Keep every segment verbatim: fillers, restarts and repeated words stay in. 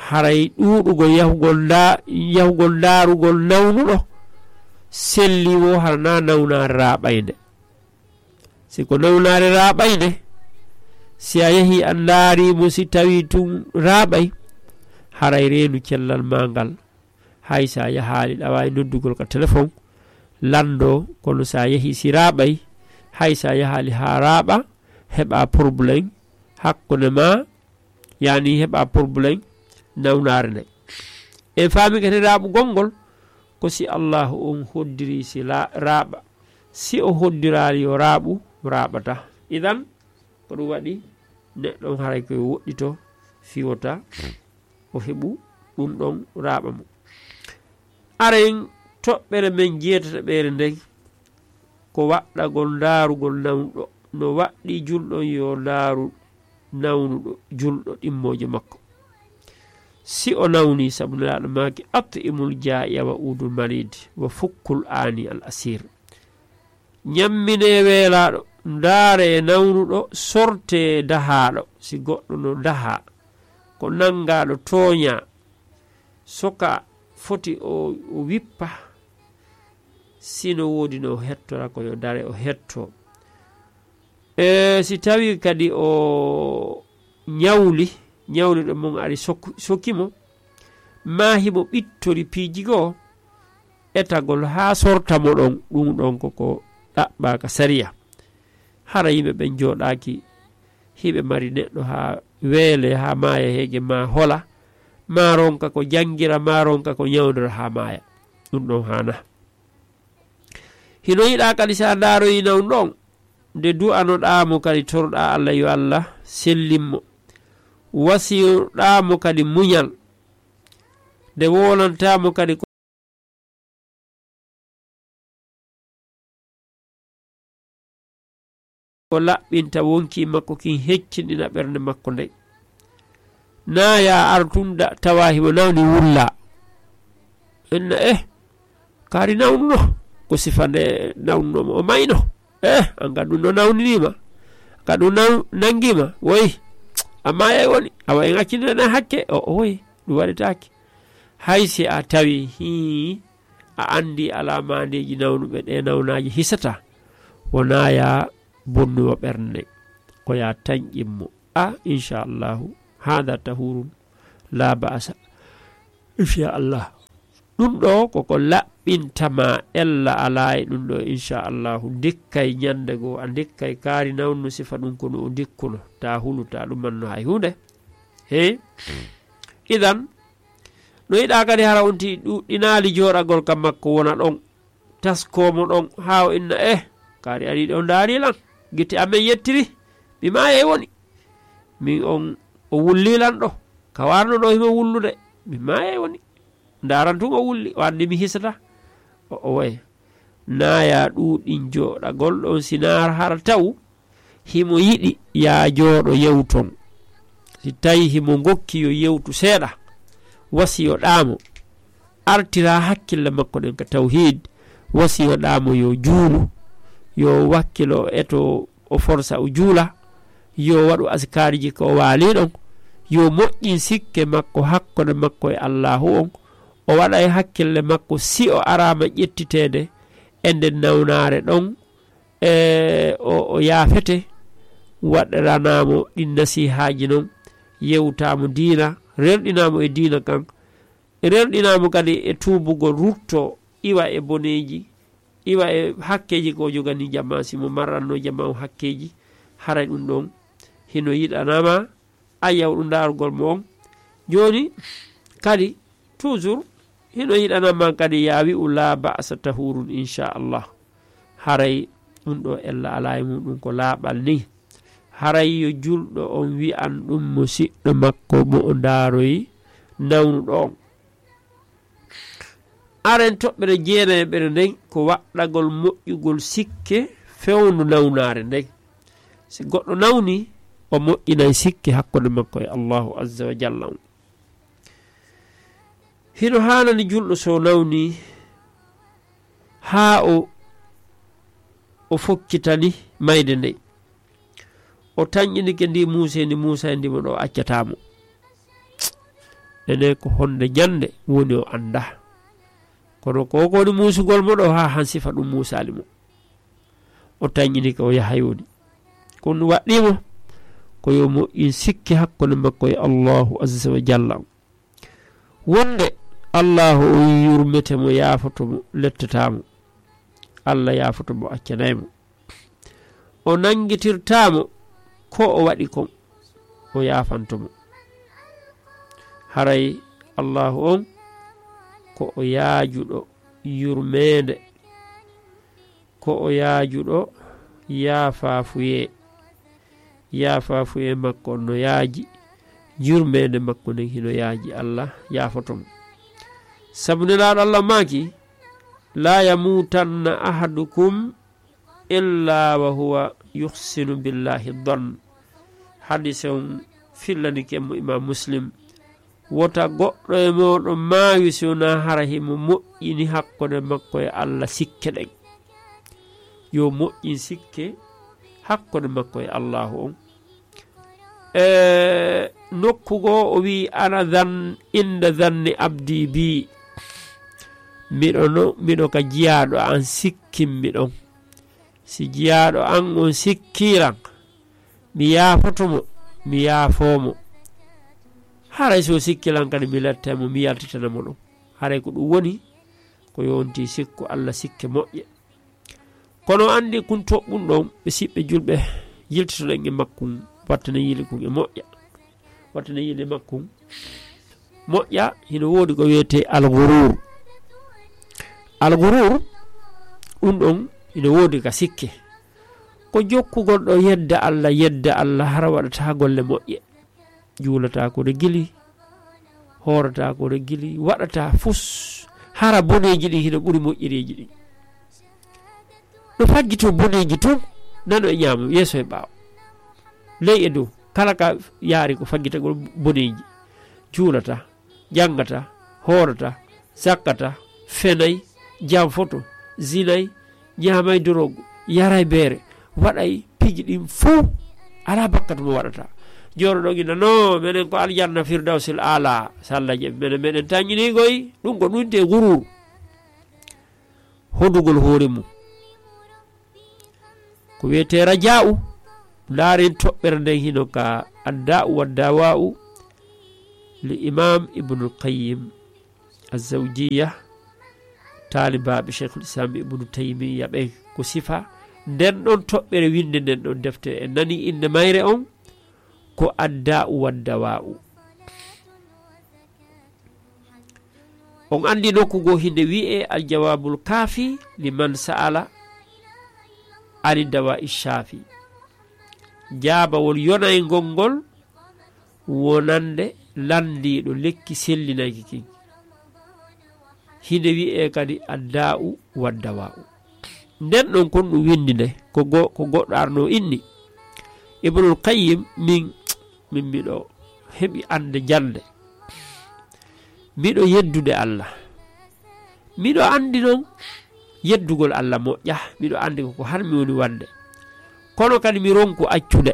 Haray ɗuuɗugol yahugol nda-, yahugol ndaarugol nawnuɗo selli wo hara na nawnaare raaɓaynde. Si ko nawnaare raaɓaynde, si a yahii a ndaarii mo, si tawii tun raaɓay, haray reenu cellal maa ngal. Hay si a yahaali, ɗa waawi noddugol ka telefon, lanndoo, kono si a yahii si raaɓay, hay si a yahaali haa raaɓa, heɓaa porobuleem hakkunde maa, yaani heɓaa porobuleem nawnaare nde. En faami kadi raaɓugol ngol, ko si Allaahu on hoddirii si la-, raaɓa. Si o hoddiraali yo raaɓu, raaɓataa. Idan, ko ɗum waɗi neɗɗo on haray ko yo woɗɗito, fiwota, o heɓu ɗum ɗon raaɓa mo. Aren toɓɓere men jeetataɓere nden, ko waɗɗagol ndaarugol nawnuɗo. No waɗɗi julɗo on yo ndaaru nawnuɗo julɗo ɗimmooje makko. Si o nawni, sabu Nelaaɗo maaki, "At'imul jaa'i'a wa uudul mariid, wa fukkul aani al asiir." Ñamminee weelaaɗo, ndaaree nawnuɗo, sortee dahaaɗo, si goɗɗo no dahaa, ko nanngaaɗo tooñaa, so ka foti o, o wippa, si no woodi no o hettora ko yo dare o hetto. E si tawii kadi o ñawli, ñawliɗo mum ari sok-, soki mo, maa himo ɓittori piiji goo, etagol haa sorta mo ɗon, ɗum ɗon ko ko ɗaɓɓaaka sariya. Hara yimɓe ɓen jooɗaaki, hiɓe mari neɗɗo haa weele, haa maaya heege, maa hola, maa ronka ko janngira, maa ronka ko ñawndira haa maaya. Ɗum ɗon haana. Hino yiɗaa kadi si a ndaaroyi nawnuɗo on, nde du'anoɗaa mo kadi toroɗaa Alla yo Alla sellin mo. Wasiyoɗaa mo kadi muñal. Nde wowlantaa mo kadi ko ko laɓɓinta wonkii makko kin, heccinɗina ɓernde makko nden. Naa yaa ar tun da-, tawa himo nawni wulla. Inna, eh, kaari nawnuno. Ko sifa nde nawnuno mo, o mayno. Eh, an ka ɗum no nawniniima. Ka ɗum naw-, nanngiima. Woy, a maayay woni. Awa en accindana hakke. O, o woy, ɗum waɗetaake. Hay si a tawi, hii, a anndi alaamandeeji nawnuɓe, ɗe nawnaaji hisata, wonaa ya bonnuwa ɓernde, ko ya tanƴin mo. A, inchallahu, hada tahurun, la ba'asa. Inchallah. Ɗum ɗo koko laɓɓinta ma ella alaa e ɗum ɗo, inchallahu. Ndikkay ñande goo, a ndikkay kaari nawnu sifa ɗum kono o ndikkuno. Ta hulu, ta ɗumanno hay huunde. He? Idan, no yiɗaa kadi hara on ti ɗuɗɗinaali jooɗagol ka makko wona ɗon, taskoo mo ɗon, haa o inna, eh, kaari arii ɗo ndaari lan, gite amen yettiri, mi maayay woni. Min on o wulli lan ɗo, ka warno ɗo himo wullude, mi maayay woni. Ndaaran tun o wulli, o anndi mi hisata. O, o waye. Naa ya ɗuuɗin jooɗagol ɗon, si naa hara taw himo yiɗi ya jooɗo yewton. Si tawi himo ngokki yo yewtu seeɗa, wasiyoɗaa mo. Artira hakkille makko ɗen ka tawhiid, wasiyoɗaa mo yo juulu, yo wakkilo e to o forsa o juula, yo waɗu askaariji ko o waali ɗon, yo moƴƴin sikke makko hakkunde makko e Allaahu on, o waɗa e hakkille makko si o araama ƴettiteede e nden nawnaare ɗon, e o, o yaafete, waɗiranaa mo ɗin nasihaaji non, yewtaa mo diina, rerɗinaa mo e diina kan, rerɗinaa mo kadi e tuubugol, rutto, iwa e boneeji, iwa e hakkeeji ko o jogani jamaa, si mo marranno jamaa o hakkeeji, haray ɗum ɗon hino yiɗanama, a yawɗu ndaarugol mo on. Jooni kadi, toujours, hino yiɗanama kadi ya wi'u laa ba'asa tahurun, inchallah. Haray ɗum ɗo ella alaa e muɗum ko laaɓal ni. Haray yo julɗo on wi'an ɗum musiɗɗo makko mo o ndaaroyi nawnuɗo on. Aren toɓɓere jeenayeɓere nden ko waɗɗagol moƴƴugol sikke fewndo nawnaare nden. Si goɗɗo nawni, o moƴƴinay sikke hakkunde makko e Allahu azza wa jalla on. Hino haanani julɗo so nawni haa o, o fokkitani mayde nden. O tanƴinike ndi muuseendi, muuseendi mo ɗo accata mo. ene ko honde ñande woni o annda. Kono ko ko woni muusugol mo ɗo haa han sifa ɗum muusaali mo. O tañinike o yaha yoni. Ko ɗum waɗɗii mo ko yo moƴƴin sikke hakkunde makko e Allahu Azza wa Jalla. Wonde Allahu on yurmete mo, yaafoto mo, lettata mo. Allah yaafoto mo, accanay mo. O nanngitirtaa mo ko o waɗi kon, o yaafanto mo. Haray Allahu on ko o yaajuɗo yurmeende, ko o yaajuɗo yaafaafuyee. Yaafaafuyee makko on no yaaji, yurmeende makko nden hino yaaji, Allah yaafoto mo. Sabu Nelaaɗo Allah maaki, "La yamuutanna ahadukum illa wa huwa yuhsinu billahi dhann." Hadise on fillanike mo Imam Muslim. Wota goɗɗo e mooɗon maayu si wonaa hara himo moƴƴini hakkunde makko e Allah sikke ɗen. Yo moƴƴin sikke hakkunde makko e Allahu on. E nokku goo o wi'i, "Ana dhan-, inda dhanni abdi bi." Miɗo no, miɗo ka jiyaaɗo an sikkinmi ɗon. Si jiyaaɗo an on sikkiran, mi yaafoto mo, mi yaafoo mo. Haray so sikkilan kadi mi lettay mo, mi yaltitana mo ɗum. Haray ko ɗum woni ko yonti sikku Allah sikke moƴƴe. Kono anndi kun toɓɓun ɗon, ɓe siɓɓe julɓe, yiltitoɗen e makkun, wattana yili kun e moƴƴa. Wattana yili makkun moƴƴa, hino woodi ko wiyetee alghurur. Alghurur, ɗum ɗon hino woodi ka sikke. Ko jokkugol ɗo yedda Allah, yedda Allah, hara waɗata golle moƴƴe. Juulata ko regili, hoorata ko regili, waɗata fus, hara boneeji ɗin hino ɓuri moƴƴereeji ɗin. No faggito boneeji tun, nano e ñaamo, yeeso e ɓaawo. Ley e dow, kala ka yaari ko faggitagol boneeji. Juulata, janngata, hoorata, sakkata, fenay, janfoto, zinay, ñaamay dorogu, yaray beere, waɗay piiji ɗin fow, alaa bakkat mo waɗata. Jooɗoɗon ina, "No, menen ko aljanna Firdawsil Aala, salla je, menen, meɗen taññini koy." Ɗum ko ɗum te gurur. Hodugol hoore mum. Ko wiyetee raja'u, ndaaren toɓɓere nden hino ka Adda'u wa Dawa'u, li Imam Ibnul Qayyim Azzawjiyya, taalibaaɓe Sheikhul Islam Ibnu Taymiyya ɓen ko sifa nden ɗon toɓɓere winde nden ɗon defte. En nani innde mayre on ko Adda'u wa Dawa'u. On anndi nokku goo hinde wi'ee Al Jawabul Kafi liman sa'ala ani dawa'i shafi. Jaabawol yonayngol ngol wonande lanndiiɗo lekki sellinayki kin. Hinde wi'ee kadi Adda'u wa Dawa'u. Nden ɗon kon ɗum windi nde, ko go-, ko goɗɗo arno inni. Ibnul Qayyim, min, min miɗo heɓi annde jannde. Miɗo yeddude Allah. Miɗo anndi non yeddugol Allah moƴƴa. Miɗo anndi ko ko har mi woni wande. Kono kadi mi ronku accude.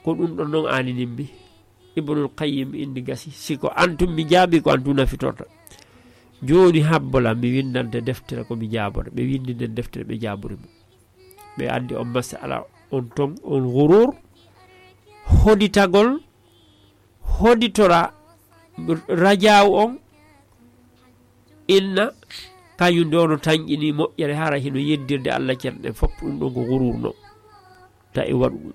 Ko ɗum ɗon non aaninimmi. Ibnul Qayyim indi gasi. Si ko antum mi jaabi, ko antum nafitorta. Jooni habbola mi windante deftere ko mi jaabota. Ɓe windi nden deftere ɓe jaabori mo. Ɓe addi on masala on ton, on gurur. Hoditagol, hoditora rajaawu on. Inna, kañum nde ono tanƴini moƴƴere, hara hino yeddirde Allah ceerɗe ɗen fof, ɗum ɗon ko gurur no. Ta e waɗu ɗum.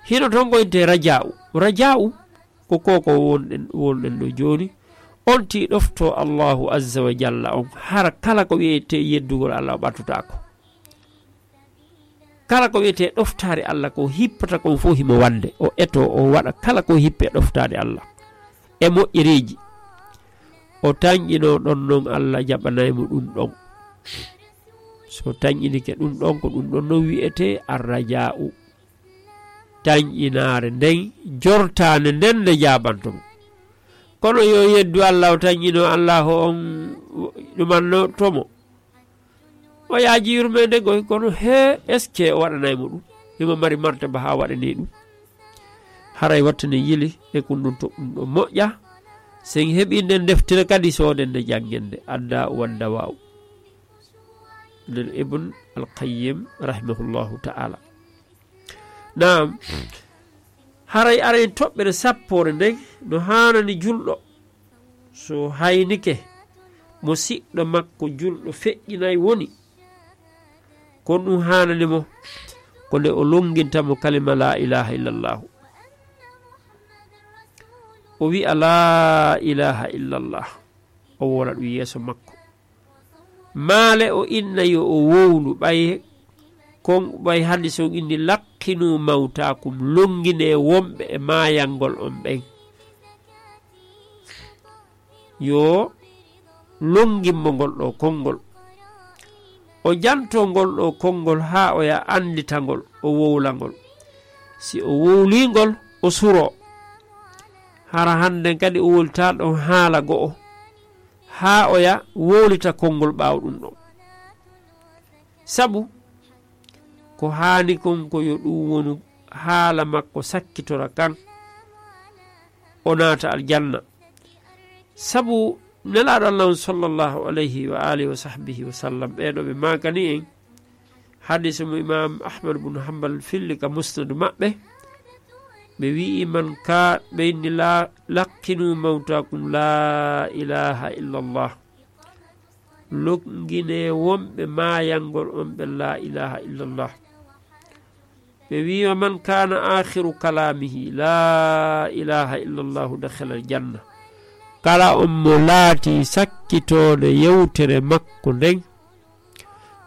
Hino ton ko inte raja'u. Raja'u ko ko, ko wonɗen, wonɗen ɗo jooni. On ti ɗofto Allahu Azza wa Jalla on, hara kala ko wiyetee yeddugol Allah o ɓattotaako. Kala ko wiyetee ɗoftaare Allah ko hippata kon fof himo wande. O eto, o waɗa kala ko hippe ɗoftaare Allah. E moƴƴereeji. O tanƴino ɗon non Allah jaɓanay mo ɗum ɗon. So tanƴinike ɗum ɗon, ko ɗum ɗon non wiyetee arraja'u. Tanƴinaare nden, jortaande nden nde jaabanto mo. Kono yo yeddu Allah o tanƴino Allah on ɗumanno to mo. O yaaji yurmeende goy, kono he, est-ce que o waɗanay mo ɗum? Himo mari martaba haa waɗani ɗum. Aray wattane yili e kun ɗum to ɗum ɗo moƴƴa. Sen heɓi nden deftere kadi sooden nde janngen nde adda wadda waaw. Nden Ibn Al-Qayyim rahimahullahu ta'ala. Naam, haray aray toɓɓere sappoore nden no haanani julɗo. So haynike mo siɗɗo makko julɗo feƴƴinay woni, kon ɗum haanani mo ko nde o longinta mo kalima la ilaha illallahu. O wi'a la ilaha illallah, o wola ɗum yeeso makko. Maale o inna yo o wowlu ɓay kon ɓay hadis on inni laqqinu mawtakum, longine wonɓe e maayangol on ɓen. Yo longimmo ngol ɗo konngol. O janto ngol ɗo konngol haa o ya anndita ngol, o wowla ngol. Si o wowlii ngol, o suroo. Hara hannden kadi o wowlita ɗon haala go'o, haa o ya wowlita konngol ɓaawo ɗum ɗon. Sabu ko haani kon ko yo ɗum wonu haala makko sakkitora kan, o naata aljanna. Sabu Nelaaɗo Allah on sallallahu alayhi wa alihi wa sahbihi wa sallam, ɓee ɗo ɓe maakani en, hadisa mo Imam Ahmad bun Hanbal filli ka musnadu maɓɓe, ɓe wi'i man ka ɓe inni la, laqqinu mawtakum la ilaha illallah. Longine wonɓe maayangol on ɓen la ilaha illallah. Ɓe wi'i wa man kana akhiru kalamihi la ilaha illallahu dakhala aljanna. Kala on mo laati sakkitoonde yewtere makko nden,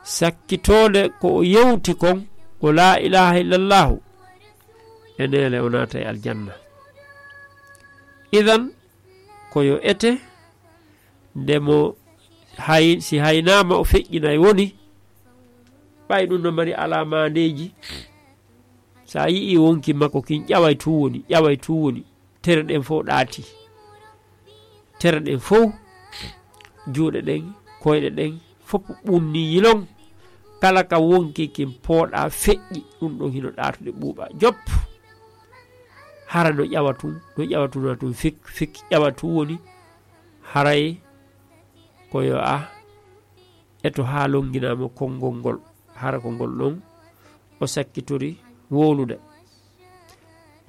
sakkitoonde ko o yewti kon ko la ilaha illallahu, e neele o naata e aljanna. Idan ko yo ete, nde mo hay, si haynaama o feƴƴinay woni, ɓay ɗum no mari alamaandeeji. Sa yi'i wonki makko kin ƴaway tun woni, ƴaway tun woni, tere ɗen fof ɗaati. Tere ɗen fof, juuɗe ɗen, koyɗe ɗen, fof ɓunni yilon. Kala ka wonki kin pooɗa feƴƴi, ɗum ɗon hino ɗaatude ɓuuɓa jop. Hara no ƴawa tun, no ƴawa tun, na tun fik, fik ƴawa tun woni, haray ko yo a eto haa longinaama konngol ngol, hara ko ngol ɗon o sakkitori wowlude.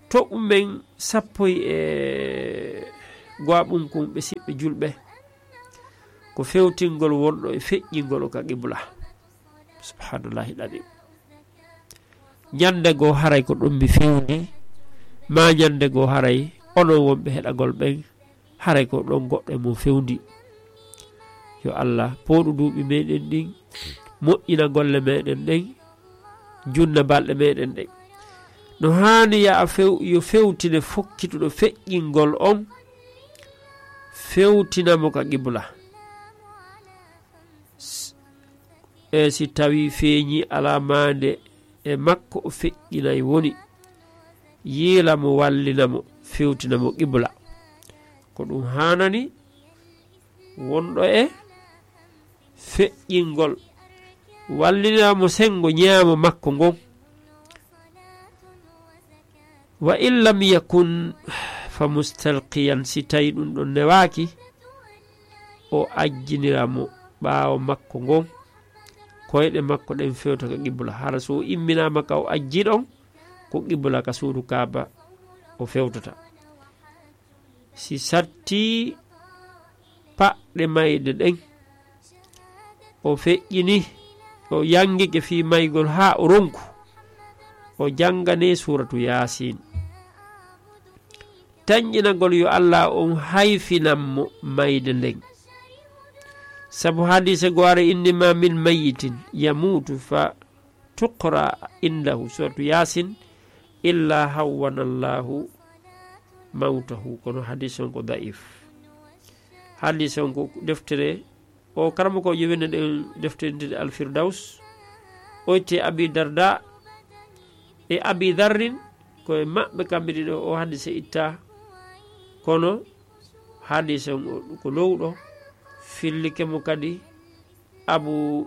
To ɗum men sappoy e go'aɓun kun ɓe siɓɓe julɓe, ko fewtingol wonɗo e feƴƴingol o ka qibla. Subhanallahi ɗaɗi. Ñande goo haray ko ɗon mi fewndi, maa ñande goo haray onon wonɓe heɗagol ɓen, haray ko ɗon goɗɗo e mon fewndi. Yo Allah pooɗu duuɓi meɗen ɗin, moƴƴina golle meɗen ɗen, junna balɗe meɗen ɗen. No haani ya a few-, yo fewtine fokkituɗo feƴƴingol on, fewtina mo ka qibla. S-, e si tawi feeñi alamaande e makko o feƴƴinay woni, yiila mo, wallina mo, fewtina mo qibla. Ko ɗum haanani wonɗo e feƴƴingol, wallina mo senngo ñaamo makko ngon. Wa in lam yakun fa mustalqiyan, si tawi ɗum ɗon newaaki, o ajjinira mo ɓaawo makko ngon, koyɗe makko ɗen fewta ka qibla. Hara so o imminaama ka o ajji ɗon, ko qibla ka suudu Kaaba o fewtata. Si satti paɗɗe mayde ɗen, o feƴƴini, o yangike fii maygol haa o ronku, o jangane suuratu Yaasin. Tanƴinagol yo Allah on hayfinan mo mayde nden. Sabu hadiise go ara inni ma min mayyitin yamuutu fa tuqra indahu suratu Yaasin illa hawwana Allahu mawtahu. Kono hadiis on ko da'if. Hadiis on ko deftere o karamoko jowinde ɗen deftere nde Al Firdaus. O itte Abi Darda e Abi Darrin, ko e maɓɓe kamɓe ɗiɗo o hadiise itta. Kono hadiis on o ko lowɗo, fillike mo kadi Abu,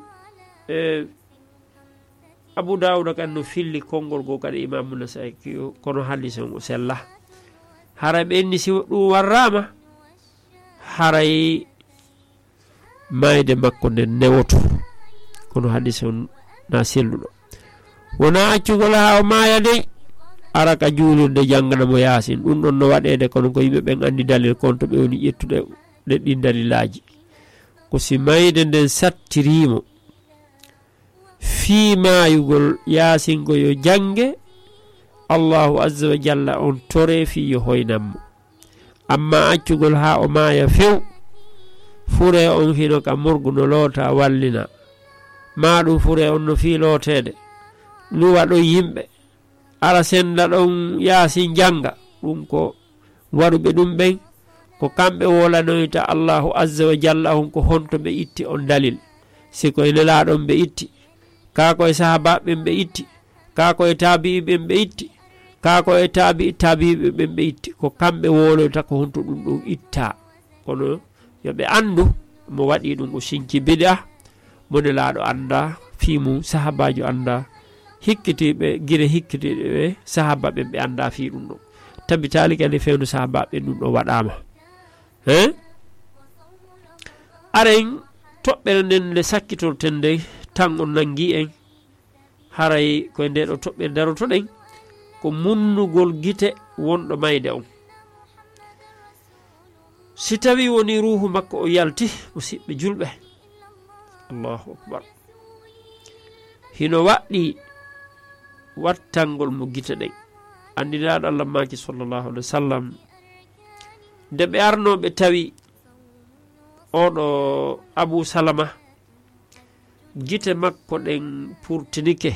e, Abu Dawuda kan no filli konngol goo kadi, Imaamu Nasaa'i, kono hadiis on o sella. Haray ɓe inni si ɗum warraama, haray maayde makko nden newoto. Kono hadiis on na selluɗo. Wonaa accugol haa o maaya dey, ara ka juulirde janngana mo Yaasin. Ɗum ɗon no waɗeede, kono ko yimɓe ɓen anndi dalil kon to ɓe woni ƴettude ɗe ɗin dalilaaji. Ko si mayde nden sattirii mo fii maayugol Yaasin ko yo jannge, Allaahu Azza wa Jalla on toree fii yo hoynan mo. Amma accugol haa o maaya few, furee on hino ka morgu no loota wallina, maa ɗum furee on no fii looteede, luwa ɗon yimɓe, ara sennda ɗon Yaasin jannga, ɗum ko waɗuɓe ɗum ɓen, ko kamɓe wolanoyta Allaahu Azza wa Jalla on ko honto ɓe itti on dalil. Si ko e Nelaaɗo on ɓe itti, kaa ko e sahaabaaɓe ɓen ɓe itti, kaa ko e taabi'i ɓen ɓe itti, kaa ko e taabi'i taabi'iɓe ɓen ɓe itti, ko kamɓe woloyta ko honto ɗum ɗum ittaa. Kono yo ɓe anndu mo waɗi ɗum o sinci bid'a, mo Nelaaɗo anndaa fii mum, sahaabaajo anndaa, hikkitiiɓe, gire hikkitiiɓe ɓe, sahaaba ɓen ɓe anndaa fii ɗum ɗon. Tabitaali kadi fewndo sahaaba ɓen ɗum ɗon waɗaama. He? Aren toɓɓere nden nde sakkitorten nden, tan on nangi en, haray ko e nde ɗo toɓɓere darotoɗen, ko munnugol gite wonɗo mayde on. Si tawii wonii ruuhu makko o yalti, musiɓɓe julɓe, Allahu akbar, hino waɗɗii wattangol mo gite ɗen. Anndinaaɗo Allah maaki, sallallahu alaihi wa sallam, nde ɓe arnoo ɓe tawi oɗo Abu Salama, gite makko ɗen purtinike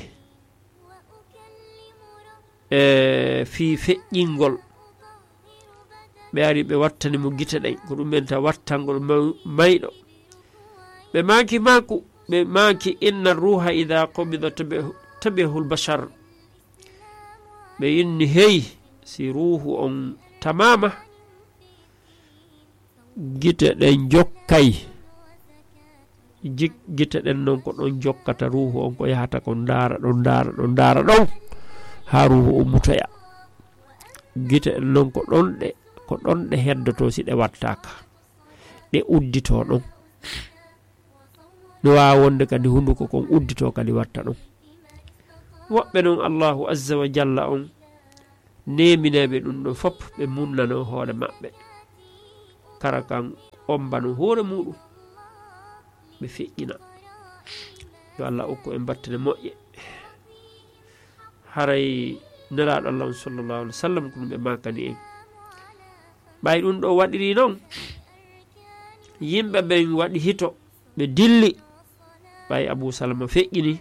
e fii feƴƴingol. Ɓe ari ɓe wattani mo gite ɗen, ko ɗum ɓenta wattangol maw-, mayɗo. Ɓe maaki maaku, ɓe maaki, "Inna ruuha idha qubida tabi-, tabi'ahul bashar." Ɓe inni, "Hey, si ruuhu on tamaama, gite ɗen jokkay." Jik-, gite ɗen non ko ɗon jokkata ruuhu on, ko yahata ko ndaara ɗon, ndaara ɗon, ndaara ɗon, haa ruuhu ummutoya. Gite ɗen non ko ɗon ɗe, ko ɗon ɗe heddotoo si ɗe wattaaka. Ɗe udditoo ɗon. No waawa wonde kadi hunduko kon udditoo kadi watta ɗon. Woɓɓe non Allahu Azza wa Jalla on neeminayɓe ɗum ɗon fof, ɓe munnano hoore maɓɓe. Kara kan ombano hoore muɗum, ɓe feƴƴina. Yo Allah okku en battane moƴƴe. Haray Nelaaɗo Allah on, sallallahu alaihi wa sallam, ko ɗum ɓe maakani en. Ɓay ɗum ɗo waɗiri non, yimɓe ɓen waɗi hito, ɓe dilli. Ɓay Abu Salama feƴƴini.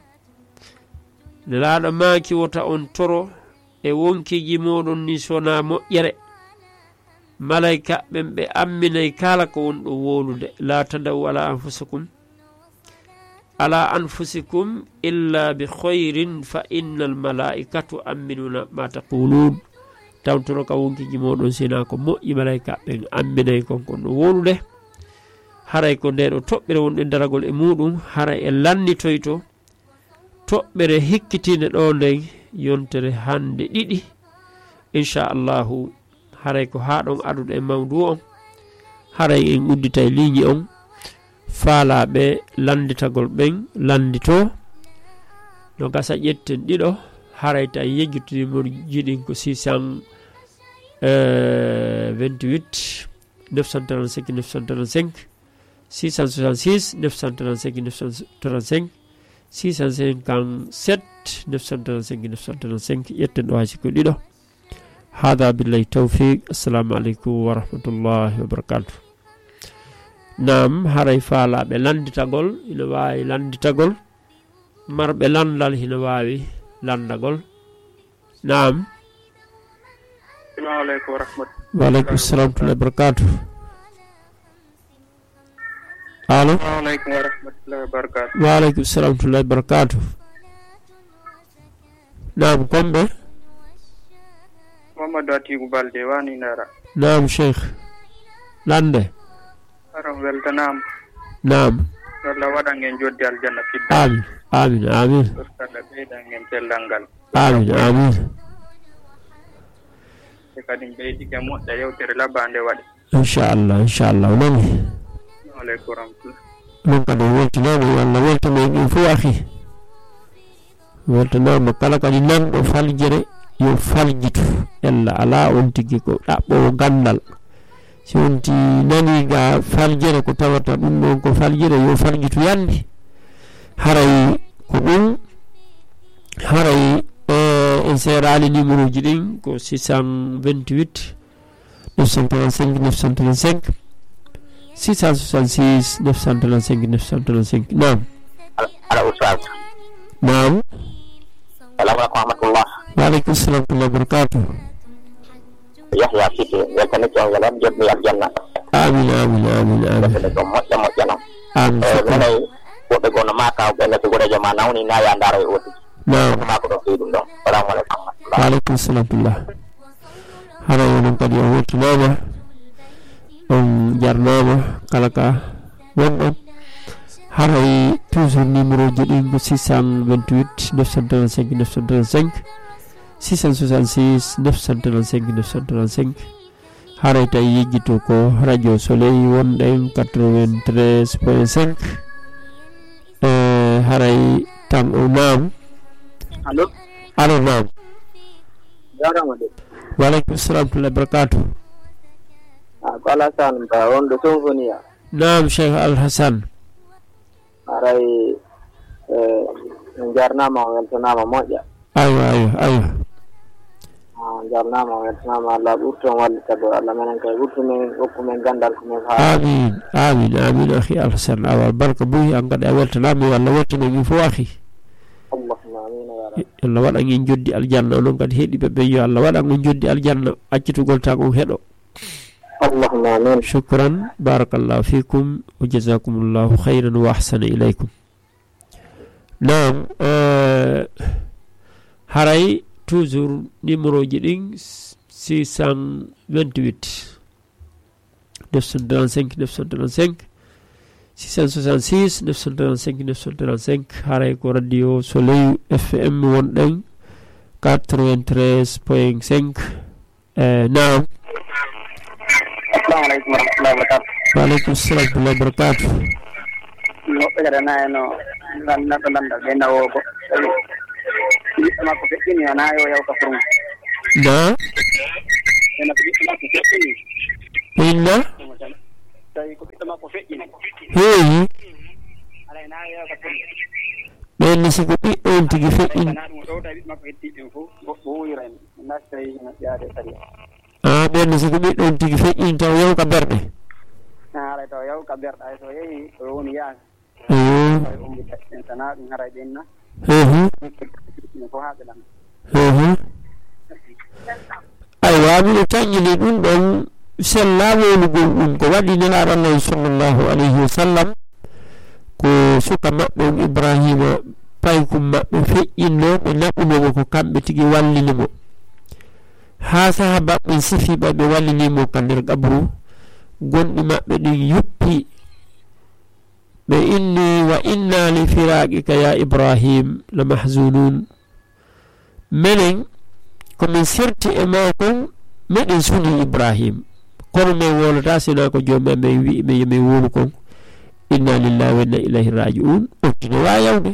Nelaaɗo maaki, "Wota on toro e wonkiiji mooɗon ni sona moƴƴere." Malayka ɓen ɓe amminay kala ko wonɗo wowlude. "La tadaw ala anfusakum, ala anfusikum illa bi khayrin fa innal malaikatu amminuna ma taqulun." Tawtoro ka wonkiiji mooɗon sina ko moƴƴi, malayka ɓen amminay kon kon no wowlude. Haray ko nde ɗo toɓɓere wonɗen daragol e muɗum, haray e lannitoyto toɓɓere hikkitiinde ɗo nden yontere hannde ɗiɗi. Inchallahu, haray ko haa ɗon aduɗo e mawdu on. Haray en udditay liiñi on. Faalaaɓe lannditagol ɓen lanndito. No gasa ƴetten ɗiɗo. Haray ta yejjitini mo jiɗin ko six cent vingt-huit, neuf cent trente-cinq, neuf cent trente-cinq, six cent soixante-six, neuf cent trente-cinq, neuf cent trente-cinq, six cent cinquante-sept, neuf cent trente-cinq, neuf cent trente-cinq. Ƴetten ɗo hay sikko ɗiɗo. Hada billahi tawfiq. Assalamu aleykum wa rahmatullahi wa barakatuh. Naam, haray faalaaɓe lannditagol, ina waawi lannditagol. Marɓe lanndal hino waawi lanndagol. Naam. Assalamu aleykum wa rahmatullahi. Wa aleykum salam wa rahmatullahi wa barakatuh. Allo? Assalamu aleykum wa rahmatullahi wa barakatuh. Wa aleykum salam wa rahmatullahi wa barakatuh. Naam, kon ɓe? Mamadou Atiku Balde, wani Ndara. Naam, Cheikh. Lannde. Aron weltanaama. Naam. Allah waɗan en joddi aljanna fidda. Amin, amin, amin. Ustad ɓeydan en cellal ngal. Amin, amin. E kadi ɓeydike moƴƴa yewtere labande waɗi. Inchallah, inchallah. O nani. Aleykum rahmatullah. Ɗum kadi weltinaama, yo Allah weltino en ɗum fof, akhi. Weltanaama kala kadi nanɗo faljere, yo faljitu. Ella alaa on tigi ko ɗaɓɓoowo ganndal. Si on ti nani ga faljere ko tawata ɗum ɗon ko faljere, yo faljitu yande. Haray ko ɗum, haray, eh, en seeraali numéro ji ɗin ko six cent vingt-huit, neuf cent trente-cinq, neuf cent trente-cinq, six cent soixante-six, neuf cent trente-cinq, neuf cent trente-cinq. Naam. Ala, ala, Oustaz. Naam. Salamu aleykum wa rahmatullah. Wa aleykum salam wa rahmatullah wa barakatuh. Yahya Cissé, weltanike on, yo Allah jodni aljanna. Amin, amin, amin, amin. Weltanike on moƴƴa, moƴƴa non. Amin, eh, shukran. Minen woɓɓe goo no maaka, ɓen no si goreejo ma nawni, na ya ndaaro e ooti. Naam. Ko maako ɗon fii ɗum ɗon. Salamu aleykum wa rahmatullah. Wa aleykum salam wa rahmatullah. Hara onon kadi on weltanaama, on jarnaama, kala ka wonɗon. Haray toujours numéro ji ɗin ko six cent vingt-huit, neuf cent trente-cinq, neuf cent trente-cinq, six cent soixante-six, neuf cent trente-cinq, neuf cent trente-cinq. Haray tawi yejjito ko Radio Soleil, wonɗen quatre-vingt-treize point cinq. Eh, haray tan o naam. Allo? Allo, naam. Jarama de. Wa aleykum salam wa rahmatullahi wa barakatuh. Ah, ko Alassane Ba, wonɗo Sonfoniya. Naam, Cheikh Al Hassan. Haray, eh, en jarnama, on weltanama moƴƴa. Aywa, aywa, aywa. Ah, jarnama, on weltanama. Allah ɓurto on wallita ɗo. Allah menen kay ɓurto men, hokku men gandal ko men faami. Amin, amin, amin, akhi Alhasan. Awa, barka buy, an kadi a weltanama, yo Allah weltano min fof, akhi. Allahumma amin, ya rabbi. Allah waɗan en joddi aljanna, onon kadi heɗiɓe ɓen, yo Allah waɗan on joddi aljanna, accitugol tan on heɗo. Allahumma amin. Shukran, barakallahu fikum, wa jazakumullahu khairan wa ahsana ilaykum. Naam, eh, haray toujours numéro ji ɗin, six cent vingt-huit, neuf cent trente-cinq, neuf cent trente-cinq, six cent soixante-six, neuf cent trente-cinq, neuf cent trente-cinq, haray ko Radio Soleil F M wonɗen, quatre-vingt-treize point cinq. Eh, naam. Assalamu aleykum wa rahmatullahi wa barakatuh. Wa aleykum salam wa rahmatullahi wa barakatuh. Woɓɓe kadi ana e no lan-, neɗɗo lanndal ɓe nawo ko. Ɓiɗɗo makko feƴƴini, ana yo yaw ka furmo. Na? Ena ko ɓiɗɗo makko feƴƴini. Inna? Tawi ko ɓiɗɗo makko feƴƴini. Heewi. Ala ena yo yaw ka furmo. Ɓen ni si ko ɓiɗɗo on tigi feƴƴini. Ana ɗum ɗo tawi ɓiɗɗo makko hetti ɓen fof. Wo-, wo wuyra en. Nastayi no ƴaade sariya. Ah, ɓen si ko ɓiɗɗo on tigi feƴƴini taw yaw ka berɗe. Ah, haray taw yaw ka berɗe, hay so yehi, o woni yaaka. Mm. Hay umbi en sana ɗum haray ɓen na. Mhm. Ɗum fof haa ɓe lan. Mhm. Aywa, miɗo taƴƴini ɗum ɗon sella wowlugol ɗum ko waɗi Nelaaɗo Allah sallallahu alayhi wa sallam. Ko suka maɓɓe on Ibrahima, paykum maɓɓe feƴƴinno, ɓe naɓuno mo ko kamɓe tigi wallini mo. Haa sahaaba ɓen sifi ɓay ɓe wallini mo ka nder qabru, gonɗi maɓɓe ɗin yuppi. Ɓe inni, "Wa inna li firaqika ya Ibrahim la mahzunun." Menen, ko min serti e maa kon, meɗen suni Ibrahim. Kono min wowlataa sinaa ko Joomi amen wi'i min yo min wowlu kon. Inna lillahi wa inna ilayhi raji'un. On tigi no waawi yawde.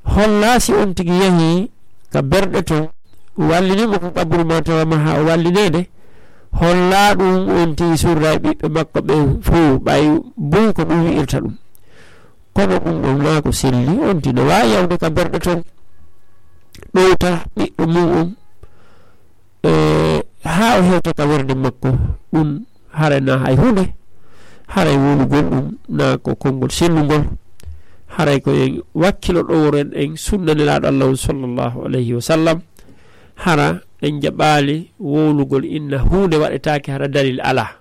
Hollaa si on tigi yahi ka berɗe ton, wallini mo ko qabru ma tawa ma haa o wallineede. Hollaa ɗum on tigi surra e ɓiɓɓe makko ɓen fow, ɓay buy ko ɗum wi'irta ɗum. Kono ɗum ɗon naa ko selli, on tigi no waawi yawde ka berɗe ton, ɗowta ɓiɗɗo mum on, e, haa o hewta ka werde makko. Ɗum haray naa hay huunde, haray wowlugol ɗum naa ko konngol sellungol, haray ko en wakkilo ɗoworen en sunna Nelaaɗo Allah on sallallahu alayhi wa sallam, hara en jaɓaali wowlugol inna huunde waɗetaake hara dalil alaa.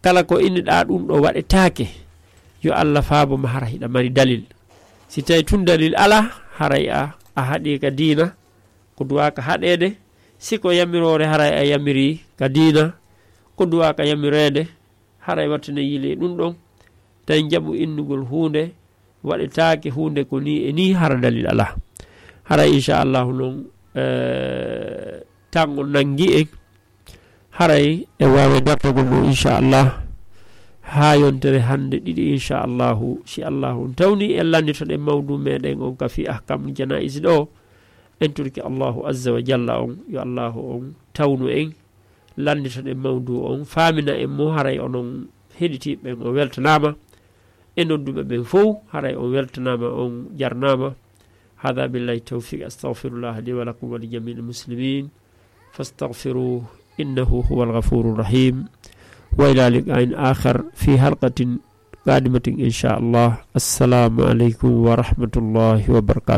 Kala ko inniɗaa ɗum ɗo waɗetaake, yo Allah faabo ma hara hiɗa mari dalil. Si tawi tun dalil alaa, haray a, a haɗii ka diina, ko duwaaka haɗeede. Si ko yamiroore, haray a yamirii ka diina, ko duwaaka yamireede, haray wattine yili ɗum ɗon. Tawi jaɓu innugol huunde, waɗetaake huunde ko nii e nii, hara dalil alaa. Haray inchallahu noon, eh, tango nanngi en. Haray e waawe dartogol mo inchallah haa yontere hannde ɗiɗi inchallahu, si Allahu on tawni en lannditoɗen mawdu meɗen on ka fi ahkamul janaiz ɗo. En torki Allahu azza wa jalla on, yo Allahu on tawnu en, lannditoɗen mawdu on, faamina en mo, haray onon heɗitiiɓe ɓen o weltanaama. E nodduɓe ɓen fow, haray on weltanaama, on jarnaama. هذا بالله التوفيق، أستغفر الله لي ولكم ولجميع المسلمين، فاستغفروه إنه هو الغفور الرحيم، وإلى لقاء آخر في حلقة قادمة إن شاء الله. السلام عليكم ورحمة الله وبركاته.